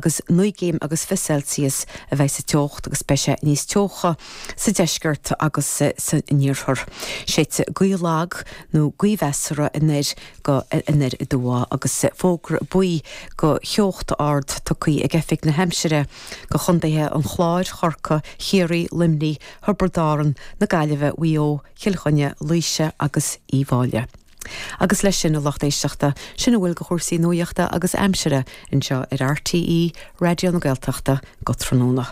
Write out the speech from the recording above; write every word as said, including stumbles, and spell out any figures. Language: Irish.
agus naoi gcéim agus fiche Celsius a bheidh sa teocht agus beidh sé níos teocha sa deisceart agus san iarthar. Séidfidh gaoth lag nó gaoth mheasartha anoir go anoir aduaidh agus fógra buí go theocht ard tugtha ag Oifig na hAimsire go chontaetha an Chláir, Chorcaí, Chiarraí, Luimnigh, Thiobraid Árann, na Gaillimhe, Mhaigh Eo, Chill Chainnigh, Laoise agus Uíbh Fhailí. Agus leis sin a lucht éisteachta sin a bhfuil de chúrsaí nuachta agus aimsire anseo ar RTÉ Raidió na Gaeltachta go tráthnóna.